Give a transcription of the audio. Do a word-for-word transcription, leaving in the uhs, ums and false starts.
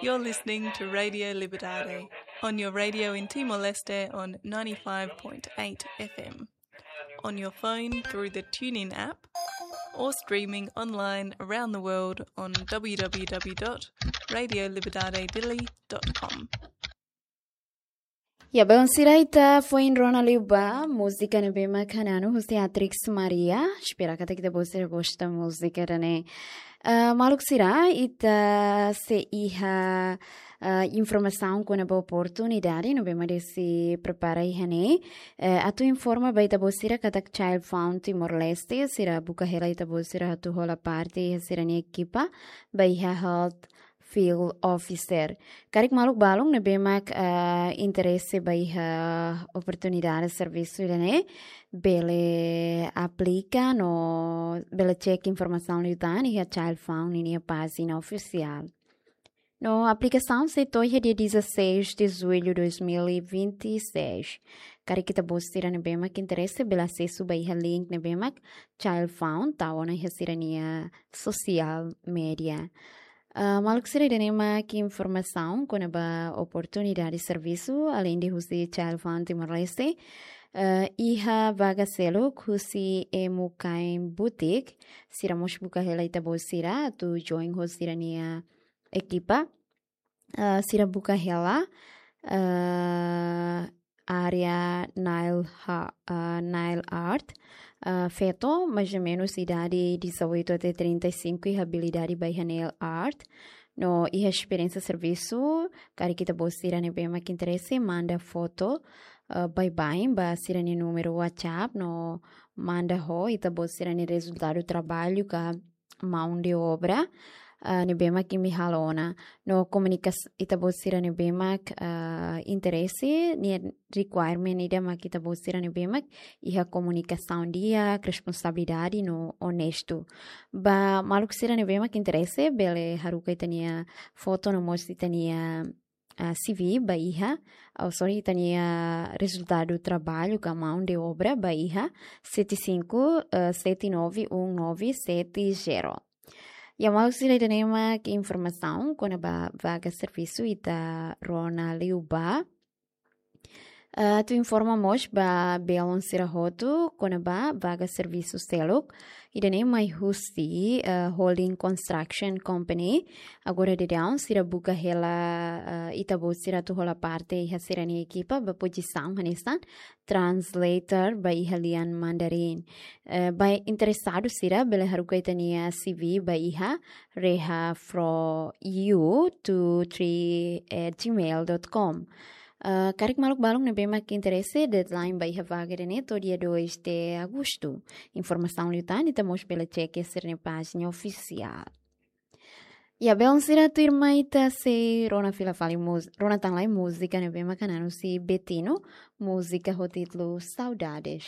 You're listening to Radio Liberdade on your radio in Timor-Leste on ninety-five point eight F M, on your phone through the TuneIn app, or streaming online around the world on w w w dot radio liberdade dili dot com. Ya, belun sira, ita foin rona liu ba múzika ne'ebé mak hananu husi Atrix Maria. Espera katak ita-boot sira gosta múzika ida-ne'e. Ah, maluk sira, ita sei iha, ah, informasaun kona-ba oportunidade ne'ebé mak Desi prepara iha ne'e. Eh, atu informa ba ita-boot sira katak Child Found Timor-Leste, sira buka hela ita-boot sira atu hola parte iha sira-nia ekipa ba iha Health Field Officer. Karik maluk balun ne'ebé mak, ah, interese ba iha oportunidade servisu ida-ne'e, bele aplika no bele cek informasaun liután iha Child Found ninia pájina ofisiál. No aplikasaun sei to'o iha dia dezasseis de julho dois mil e vinte e seis. Karik ita-boot sira ne'ebé mak interese bele asesu ba iha link ne'ebé mak Child Found tau ona iha sira-nia social media. Ah, maluk sira, ida-ne'e mak informasaun kona-ba oportunidade servisu, alende husi Child Found Timor-Leste, ah, iha vaga seluk husi Emu Kain Boutique, sira mós buka hela ita-boot sira atu join ho sira-nia ekipa. Ah, sira buka hela, ah, área nail ha-, ah, nail art. Ah, feto, mais ou menos idade dezoito até trinta e cinco, iha abilidade ba iha nail art. No iha esperiénsia servisu, karik ita-boot sira ne'ebé mak interese, manda foto, ah, baibain ba sira-nia númeru WhatsApp, no manda ho ita-boot sira-nia rezultadu traballu ka mão de obra, ah, ne'ebé mak imi halo ona. No komunika ita-boot sira ne'ebé mak, ah, interese, nia requirement ida mak ita-boot sira ne'ebé mak iha komunikasaun di'ak, responsabilidade no onestu. Ba maluk sira ne'ebé mak interese, bele haruka ita-nia foto no mós ita-nia, ah, C V ba iha, oh, sorry, ita-nia rezultadu traballu ka mão de obra ba iha sete cinco, eh, sete nove um nove sete zero. Ya, maluk sira, ida-ne'e mak informasaun kona-ba vaga servisu ita rona liu ba. Ah, atu informa mós ba belun sira hotu kona-ba vaga servisu seluk. Ida-ne'e mai husi, ah, Holding Construction Company. Agora daudaun sira buka hela, ah, ita-boot sira atu hola parte iha sira-nia ekipa ba pozisaun hanesan translator ba iha lian Mandarin. Eh, ba interesadu sira bele haruka ita-nia C V ba iha reha from you two three at gmail dot com. Ah, karik maluk balun ne'ebé mak interese, deadline ba iha vaga ida-ne'e to'o dia dois de agosto. Informasaun liután ita mós bele cek iha sira-nia pájina ofisiál. Ya, belun sira, tuirmai ita sei rona fila fali múz-, rona tan lai múzika ne'ebé mak hananu husi Betino, múzika ho títulu Saudades.